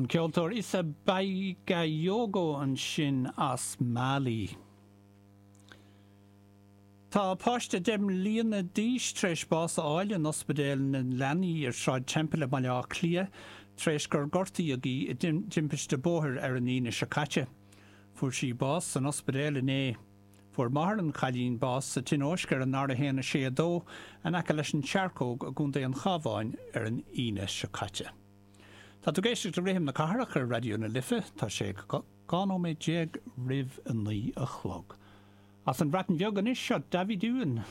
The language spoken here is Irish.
An ceoltóir Issa Bagayogo ansin as Mali. Tá páiste 10 mbliana d'aois tar éis bás a fháil in Ospidéal na Leanaí ar Shráid Temple i mBaile Átha Cliath tar éis gur gortaíodh í i dtimpiste bóthair ar an Aoine seo caite. Fuair sí bás san ospidéal inné. Fuair máthair an chailín bás sa tionóisc ar an R1 6 2 in aice leis an tSearcóg i gContae an Chabháin ar an Aoine seo caite. Tá tú ag éisteacht le Rithim na Cathrach ar Raidió na Life. Tá sé 12 nóiméad roimh a 9 a chlog. As an Bhreatain Bheag anois, seo David Ewan.